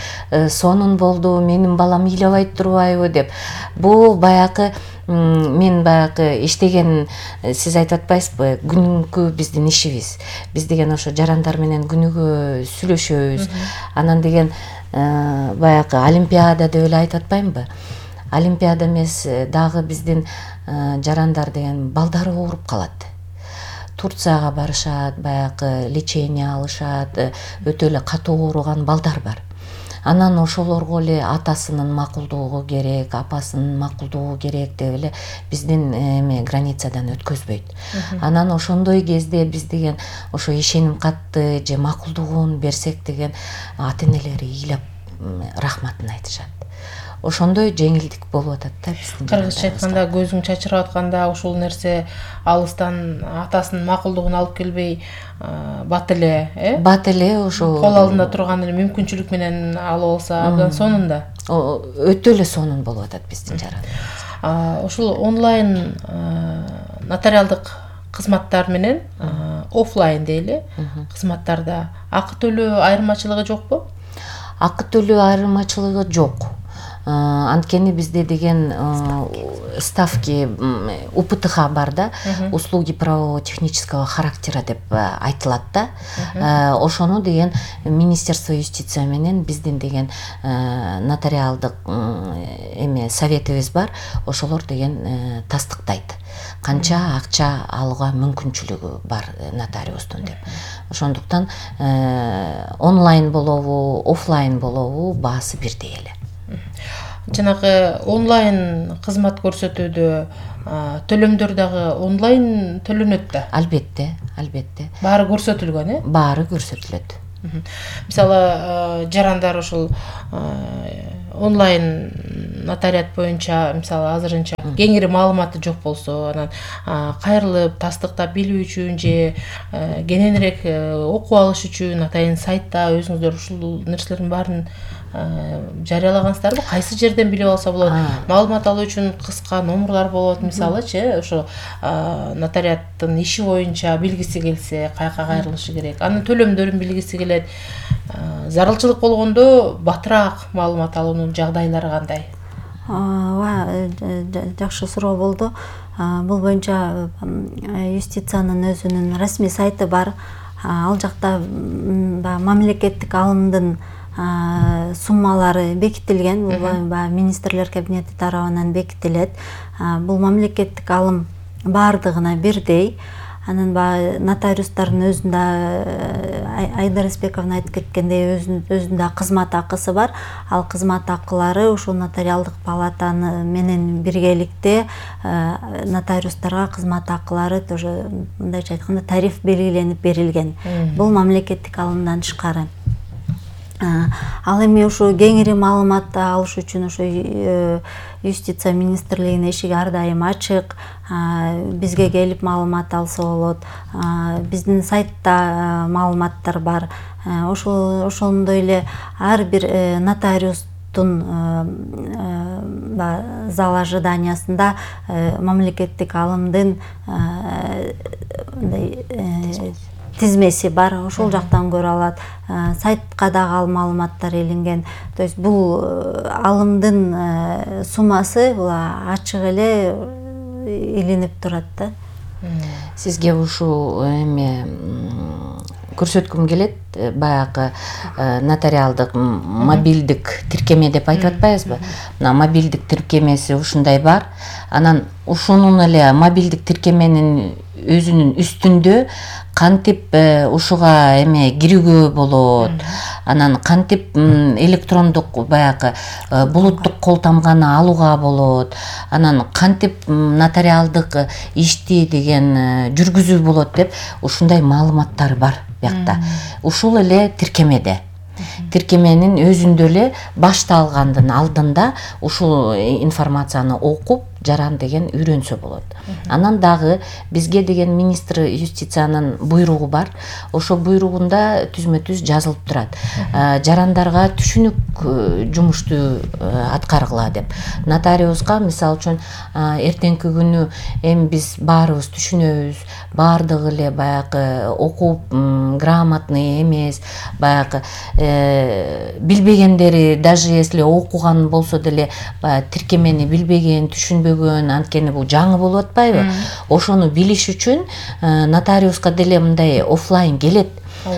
Сонун болду, менин балам ыйлабай турбайбы деп. Бул баягы мен баягы иштеген, сиз айтып атпайсызбы, күнүмкү биздин ишибиз. Биз деген ошо жарандар менен күнүгө сүйлөшөбүз. Анан деген баягы олимпиада деп эле айтып атпаймынбы? Олимпиада эмес, дагы биздин жарандар деген балдары ооруп калат. Турцияга барышат, баягы лечение алышат, өтө эле катуу ооруган балдар бар. Анан ошолорго эле атасынын макулдугу керек, апасынын макулдугу керек деп эле биздин эме границадан өткөзбөйт. Анан ошондой кезде биз деген ошо ишеним катты же макулдугун берсек деген ата-энелери ыйлап рахматын айтышат. Ошондой жеңилдик болуп атат да биздин. Кыргызча айтканда көзүң чачырап атканда ушул нерсе алыстан атасынын макулдугун алып келбей бат эле, бат эле ошо кол алдында турган эле мүмкүнчүлүк менен алып алса абдан сонун да. Өтө эле сонун болуп атат биздин жарандар. Ушул онлайн нотариалдык кызматтар менен офлайн дейли кызматтарда акы төлөө айырмачылыгы жокпу? Акы төлөө айырмачылыгы жок. Анткени бизде деген ставки УПТХ бар да, услуги правово-технического характера деп айтылат да. Ошону деген Министерство юстиция менен биздин деген нотариалдык советибиз бар, ошолор деген тастыктайт. Канча акча алууга мүмкүнчүлүгү бар нотариустун деп. Ошондуктан онлайн болобу, офлайн болобу баасы бирдей эле. Жанагы онлайн кызмат көрсөтүүдө төлөмдөр дагы онлайн төлөнөт да. Албетте. Баары көрсөтүлгөн, Баары көрсөтүлөт. Мисалы жарандар ушул онлайн нотариат боюнча мисалы азырынча кеңири маалыматы жок болсо, анан кайрылып тастыктап билүү үчүн же кененирээк окуп алыш үчүн атайын сайтта өзүңүздөр ушул нерселердин баарын жарыялагансыздарбы? Кайсы жерден билип алса болот? Маалымат алуу үчүн кыска номурлар болот, мисалычы, ошо нотариаттын иши боюнча билгиси келсе, каяка кайрылышы керек. Анын төлөмдөрүн билгиси келет. Зарылчылык болгондо батыраак маалымат алуунун жагдайлары кандай? Жакшы суроо болду. Бул боюнча юстициянын өзүнүн расмий сайты бар. Ал жакта мамлекеттик алымдын суммалары бекитилген. Бул министрлер кабинети тарабынан бекитилет. Бул мамлекеттик алым баардыгына бирдей. Анан нотариустардын өзүндө Айдар Эсбековна айтып кеткендей өзүндө кызмат акысы бар. Ал кызмат акылары ушул нотариалдык палатаны менен биргеликте нотариустарга кызмат акылары тоже мындайча айтканда тариф белгиленип берилген. Бул мамлекеттик алымдан тышкары. Ал эми ушу кеңири маалымат алыш үчүн ушу юстиция министрлигинин эшиги ар дайым ачык. Бизге келип маалымат алса болот. Биздин сайтта маалыматтар бар. Ошондой эле ар бир нотариустун зал ожиданиясында мамлекеттик алымдын тизмеси бар, ошол жактан көрө алат. Сайтка дагы ал маалыматтар илинген. То есть бул алымдын суммасы бул ачык эле илинип турат да. Сизге ушул көрсөткүм келет, баягы нотариалдык мобилдик тиркеме деп айтып атпайбызбы? Мына мобилдик тиркемеси ушундай бар. Анан ушунун эле мобилдик тиркеменин өзүнүн үстүндө кантип ушуга кирүүгө болот, анан кантип электрондук баягы булуттук кол тамганы алууга болот, анан кантип нотариалдык ишти деген жүргүзүү болот деп ушундай маалыматтар бар биякта. Ушул эле тиркемеде. Тиркеменин өзүндө эле башталгандын алдында ушул информацияны окуп жаран деген үйрөнсө болот. Анан дагы бизге деген министр юстициянын буйругу бар. Ошо буйругунда түзмө-түз жазылып турат. Жарандарга түшүнүк жумушту аткаргыла деп. Нотариуска мисалы үчүн эртеңки күнү биз баарыбыз түшүнөбүз, баардыгы эле баягы окуп грамотный эмес, баягы билбегендери даже если окуган болсо деле тиркемени билбеген, түшүнбөгөн, анткени бул жаңы болуп атпайбы? Ошону билиш үчүн нотариуска деле мындай офлайн келет.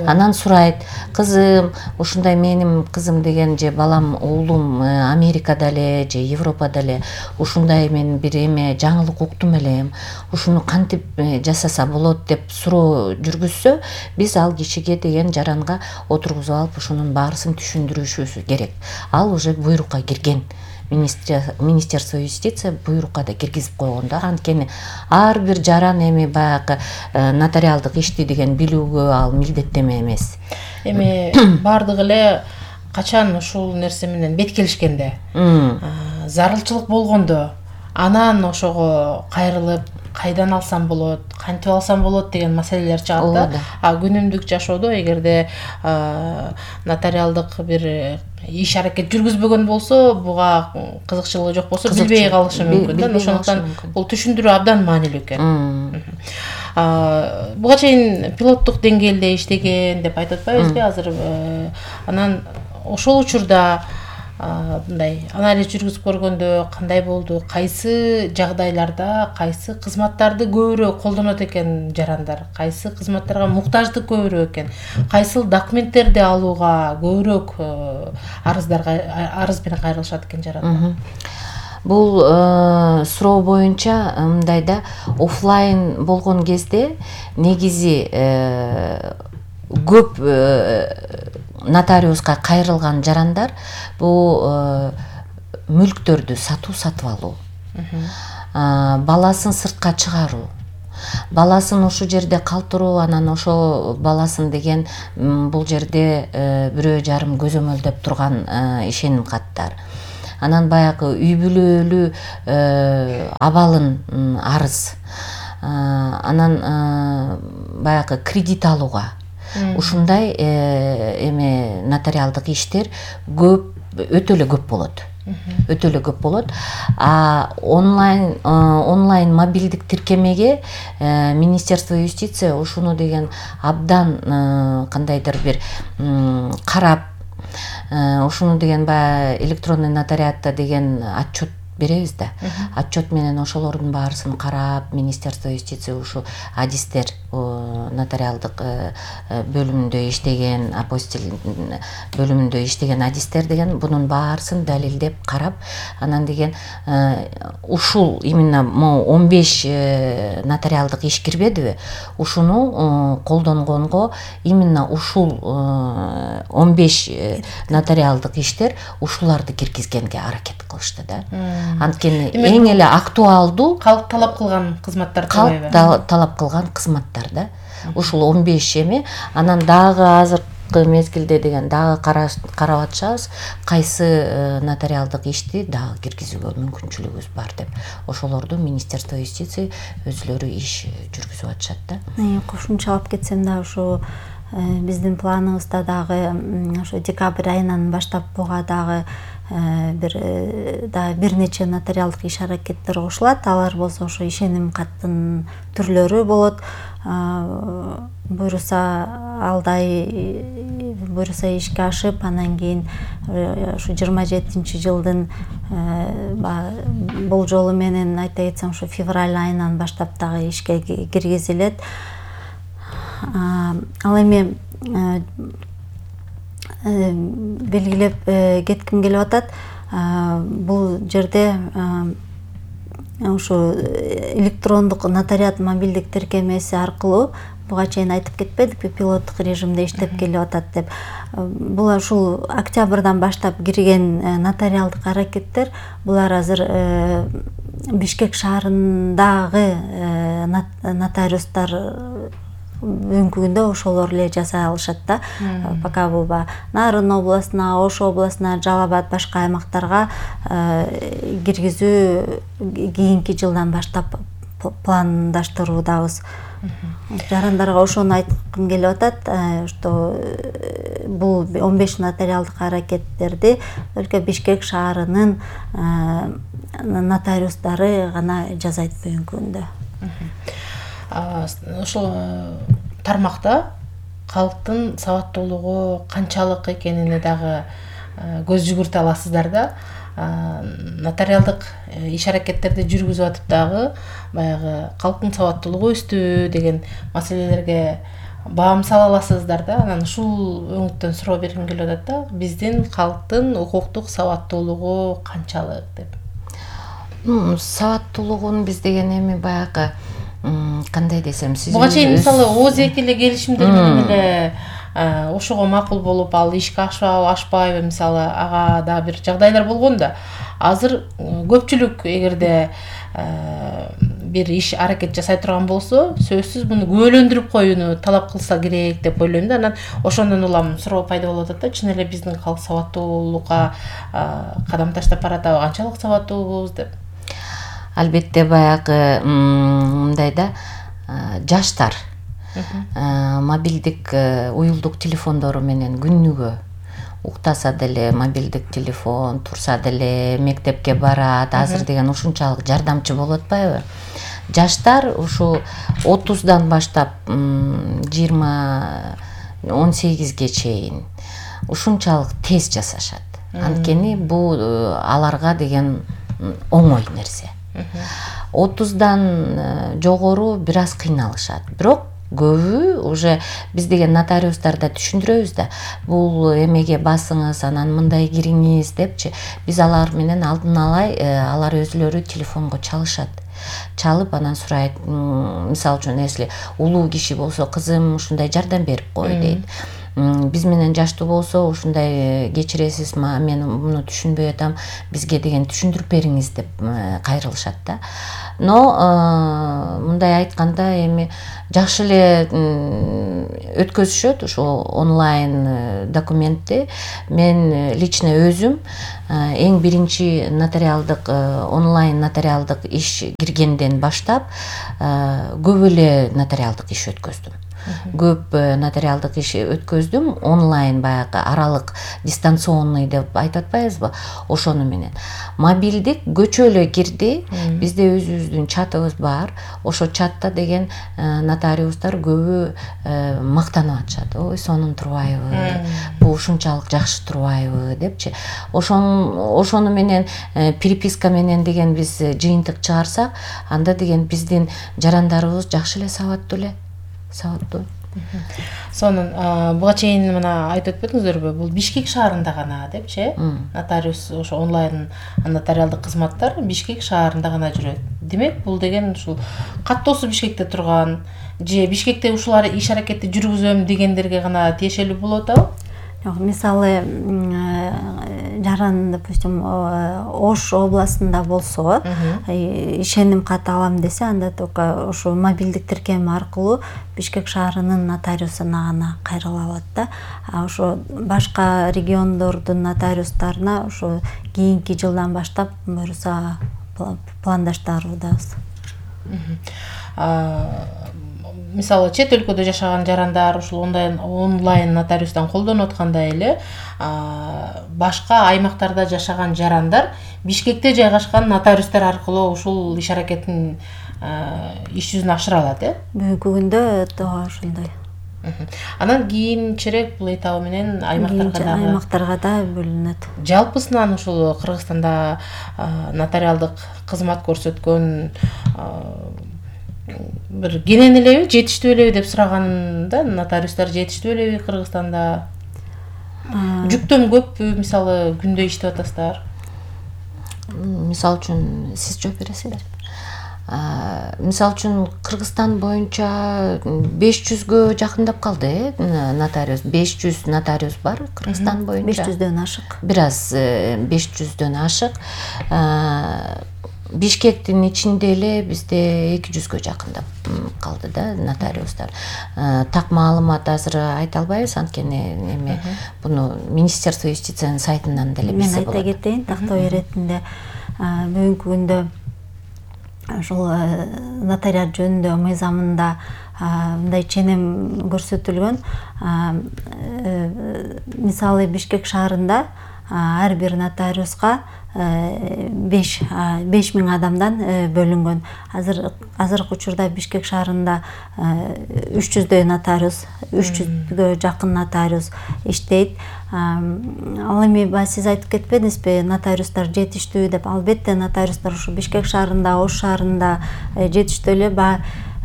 Анан сурайт: кызым, ушундай менин кызым деген же балам, уулум Америкада эле же Европада эле ушундай мен бир жаңылык уктум элем. Ушуну кантип жасаса болот деп суроо жүргүзсө, биз ал кишиге деген жаранга отургузуп алып ушунун баарысын түшүндүрүшүбүз керек. Ал уже буйрукка кирген. Министерство юстиция буйрукка да киргизип койгон да. Анткени ар бир жаран баягы нотариалдык ишти деген билүүгө ал милдеттеме эмес. Баардыгы эле качан ушул нерсе менен бет келишкенде, зарылчылык болгондо, анан ошого кайрылып кайдан алсам болот, кантип алсам болот деген маселелер чыгат да. Күнүмдүк жашоодо эгерде нотариалдык бир иш аракет жүргүзбөгөн болсо, буга кызыкчылыгы жок болсо, билбей калышы мүмкүн да. Ошондуктан бул түшүндүрүү абдан маанилүү экен. Буга чейин пилоттук деңгээлде иштеген деп айтып атпайбызбы азыр? Анан ошол учурда мындай анализ жүргүзүп көргөндө кандай болду, кайсы жагдайларда кайсы кызматтарды көбүрөөк колдонот экен жарандар, кайсы кызматтарга муктаждык көбүрөөк экен, кайсыл документтерди алууга көбүрөөк арыз менен кайрылышат экен жарандар. Бул суроо боюнча мындай да, офлайн болгон кезде негизи көп нотариуска кайрылган жарандар бул мүлктөрдү сатып алуу, баласын сыртка чыгаруу, баласын ошол жерде калтыруу, анан ошо баласын деген бул жерде 1,5 көзөмөлдөп турган ишеним каттар, анан баягы үй бүлөлүү абалын арыз, анан баягы кредит алууга ушундай эме нотариалдык иштер өтө эле көп болот. Онлайн мобилдик тиркемеге Министерство юстиция ушуну деген абдан кандайдыр бир карап, ушуну деген баягы электронный нотариатта деген отчет беребиз да. Отчет менен ошолордун баарысын карап, Министерство юстиция ушу адистер нотариалдык бөлүмүндө иштеген, апостил бөлүмүндө иштеген адистер деген бунун баарысын далилдеп карап, анан деген ушул именно 15 нотариалдык иш кирбедиби? Ушуну колдонгонго именно ушул 15 нотариалдык иштер ушуларды киргизгенге аракет кылышты да. Анткени эң эле актуалдуу калк талап кылган кызматтар, калк талап кылган кызматтар да. Ушул 15 эме, анан дагы азыркы мезгилде деген дагы карап атышабыз, кайсы нотариалдык ишти дагы киргизүүгө мүмкүнчүлүгүбүз бар деп. Ошолорду Министерство юстиция өзлөрү иш жүргүзүп атышат да. Кошумчалап кетсем да, ушу биздин планыбызда дагы ошо декабрь айынан баштап буга дагы бир нече нотариалдык иш аракеттер кошулат. Алар болсо ошо ишеним каттын түрлөрү болот. Буюрса ишке ашып, анан кийин ушу 27-жылдын болжолу менен айта кетсем ушу февраль айынан баштап дагы ишке киргизилет. Ал эми белгилеп кетким келип атат, бул жерде ушу электрондук нотариат мобилдик тиркемеси аркылуу буга чейин айтып кетпедикпи, пилоттук режимде иштеп келип атат деп. Бул ушул октябрдан баштап кирген нотариалдык аракеттер, булар азыр Бишкек шаарындагы нотариустар бүгүнкү күндө ошолор эле жасай алышат да. Пока бул Нарын областына, Ош областына, Жалал Абад башка аймактарга киргизүү кийинки жылдан баштап пландаштыруудабыз. Жарандарга ошону айткым келип атат, что бул 15 нотариалдык аракеттерди только Бишкек шаарынын нотариустары гана жасайт бүгүнкү күндө. Ошол тармакта калктын сабаттуулугу канчалык экенине дагы көз жүгүртө аласыздар да. Нотариалдык иш аракеттерди жүргүзүп атып дагы баягы калктын сабаттуулугу өстү деген маселелерге баам сала аласыздар да. Анан ушул өңүттөн суроо бергим келип атат да, биздин калктын укуктук сабаттуулугу канчалык деп. Сабаттуулугун биз деген эми баягы кандай десем, сиз буга чейин мисалы ооз-эки эле келишимдер менен эле ошого макул болуп, ал ишке ашпайбы, мисалы ага да бир жагдайлар болгон да. Азыр көпчүлүк эгерде бир иш аракет жасай турган болсо, сөзсүз муну күбөлөндүрүп коюуну талап кылса керек деп ойлойм да. Анан ошондон улам суроо пайда болуп атат да, чын эле биздин калк сабаттуулукка кадам таштап баратабы, канчалык сабаттуубуз деп. Албетте баягы мындай да, жаштар мобилдик уюлдук телефондору менен күнүгө уктаса деле мобилдик телефон, турса деле мектепке барат, азыр деген ушунчалык жардамчы болуп атпайбы? Жаштар ушу 30дан баштап 20-18ге чейин ушунчалык тез жасашат. Анткени бул аларга деген оңой нерсе. 30дан жогору бир аз кыйналышат. Бирок көбү уже биз деген нотариустарда түшүндүрөбүз да, бул эмеге басыңыз, анан мындай кириңиз депчи. Биз алар менен алдын ала алар өзүлөрү телефонго чалышат. Чалып анан сурайт, мисалы үчүн если улуу киши болсо, кызым ушундай жардам берип кой дейт. Биз менен жаштуу болсо ушундай кечиресиз, мен муну түшүнбөй атам, бизге деген түшүндүрүп бериңиз деп кайрылышат да. Но мындай айтканда эми жакшы эле өткөзүшөт ушу онлайн документти. Мен лично өзүм эң биринчи нотариалдык онлайн нотариалдык иш киргенден баштап көп эле нотариалдык иш өткөздүм. Көп нотариалдык иш өткөздүм, онлайн баягы аралык дистанционный деп айтып атпайбызбы, ошону менен. Мобилдик көчөлө кирди, бизде өзүбүздүн чатыбыз бар. Ошо чатта деген нотариустар көбү мактанып атышат. Ой, сонун турбайбы, бул ушунчалык жакшы турбайбы депчи. Ошону менен переписка менен деген биз жыйынтык чыгарсак, анда деген биздин жарандарыбыз жакшы эле сабаттуу. Сонун буга чейин мына айтып өтпөдүңүздөрбү? Бул Бишкек шаарында гана депчи, нотариус ошо онлайн нотариалдык кызматтар Бишкек шаарында гана жүрөт. Демек, бул деген ушул каттоосу Бишкекте турган же Бишкекте ушулар иш аракетти жүргүзөм дегендерге гана тиешелүү болуп атабы? Мисалы жаран, допустим, Ош областында болсо, ишеним кат алам десе, анда только ошо мобилдик тиркем аркылуу Бишкек шаарынын нотариусуна гана кайрыла алат да. Ошо башка региондордун нотариустарына ошо кийинки жылдан баштап буюрса пландаштырабыз. Мисалы, чет өлкөдө жашаган жарандар ушул онлайн нотариустан колдонуп аткандай эле, башка аймактарда жашаган жарандар Бишкекте жайгашкан нотариустар аркылуу ушул иш аракеттин иш жүзүн ашыра алат, Бүгүнкү күндө тоо ошондой. Анан кийинчерээк бул этабы менен аймактарга да бөлүнөт. Жалпысынан ушул Кыргызстанда нотариалдык кызмат көрсөткөн бир кенен элеби, жетиштүү элеби деп сураганымда, нотариустар жетиштүү элеби Кыргызстанда? Жүктөм көппү, мисалы, күндө иштеп атасыздар? Мисалы үчүн сиз жооп бересиздер. Мисалы үчүн Кыргызстан боюнча 500гө жакындап калды, нотариус. 500 нотариус бар Кыргызстан боюнча. 500дөн ашык. Бир аз 500дөн ашык. Бишкектин ичинде эле бизде 200гө жакындап калды да нотариустар. Так маалымат азыр айта албайбыз, анткени эми буну Министерство юстициянын сайтынан деле билсе болот. Мен айта кетейин, тактоо иретинде бүгүнкү күндө ушул нотариат жөнүндө мыйзамында мындай ченем көрсөтүлгөн. Мисалы, Бишкек шаарында ар бир нотариуска 5000 адамдан бөлүнгөн. Азыркы учурда Бишкек шаарында 300дөй нотариус, 300гө жакын нотариус иштейт. Ал эми сиз айтып кетпедиңизби, нотариустар жетиштүү деп? Албетте, нотариустар ушу Бишкек шаарында, Ош шаарында жетиштүү эле.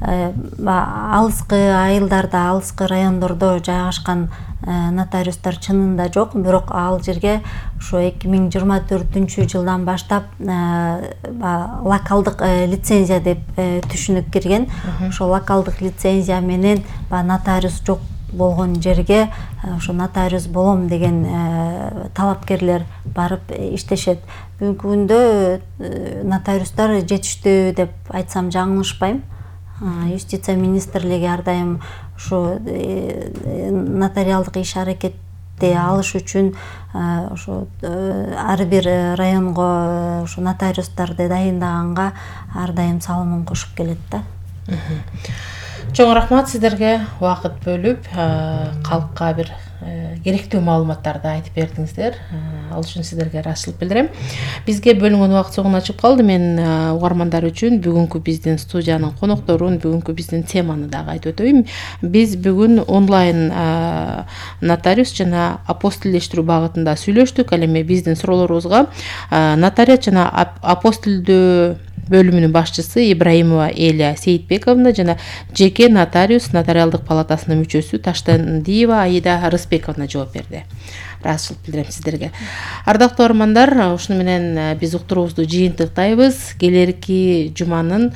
Алыскы айылдарда, алыскы райондордо жайгашкан нотариустар чынында жок, бирок ал жерге ушу 2024-жылдан баштап локалдык лицензия деп түшүнүк кирген. Ошо локалдык лицензия менен нотариус жок болгон жерге ошо нотариус болом деген талапкерлер барып иштешет. Бүгүнкү күндө нотариустар жетиштүү деп айтсам жаңылышпайм. Юстиция министрлиги ар дайым ушу нотариалдык иш аракетти алыш үчүн ошо ар бир районго ушу нотариустарды дайындаганга ар дайым салымын кошуп келет да. Чоң рахмат сиздерге убакыт бөлүп калкка бир керектүү маалыматтарды айтып бердиңиздер. Ал үчүн сиздерге ыраазычылык билдирем. Бизге бөлүнгөн убакыт соңуна чыгып калды. Мен угармандар үчүн бүгүнкү биздин студиянын конокторун, бүгүнкү биздин теманы дагы айтып өтөйүн. Биз бүгүн онлайн нотариус жана апостилдештирүү багытында сүйлөштүк. Ал эми биздин суроолорубузга нотариат жана апостилдөө бөлүмүнүн башчысы Ибраимова Эля Сейитбековна жана жеке нотариус нотариалдык палатасынын мүчөсү Таштандиева Аида Рысбековна жооп берди. Ыраазычылык билдирем сиздерге. Ардактуу армандар, ушуну менен биз уктуруубузду жыйынтыктайбыз. Келерки жуманын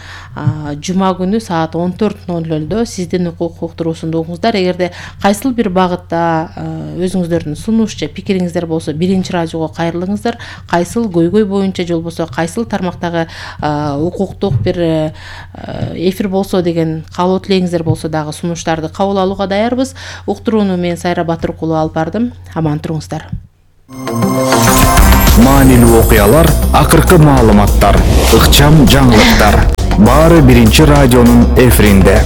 жума күнү саат 14:00 сиздин укук уктуруусунду угуңуздар. Эгерде кайсыл бир багытта өзүңүздөрдүн сунуш же пикириңиздер болсо, биринчи радиого кайрылыңыздар. Кайсыл көйгөй боюнча же болбосо кайсыл тармактагы укуктук бир эфир болсо деген каалоо тилегиңиздер болсо дагы сунуштарды кабыл алууга даярбыз. Уктурууну мен Сайра Батыркулу алып бардым. Аман туруңуздар. Маанилүү окуялар, акыркы маалыматтар, ыкчам жаңылыктар. Баары биринчи радионун эфиринде.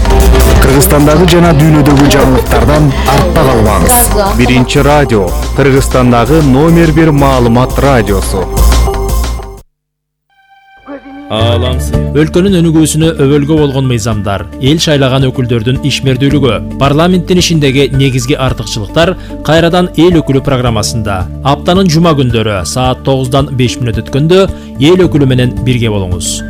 Кыргызстандагы жана дүйнөдөгү жаңылыктардан артта калбаңыз. Биринчи радио, Кыргызстандагы номер 1 маалымат радиосу. Өлкөнүн өнүгүүсүнө өбөлгө болгон мыйзамдар, эл шайлаган өкүлдөрдүн ишмердүүлүгү, парламенттин ишиндеги негизги артыкчылыктар кайрадан эл өкүлү программасында. Аптанын жума күндөрү саат 9:05 өткөндө эл өкүлү менен бирге болуңуз.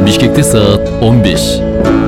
Бишкекте саат 15.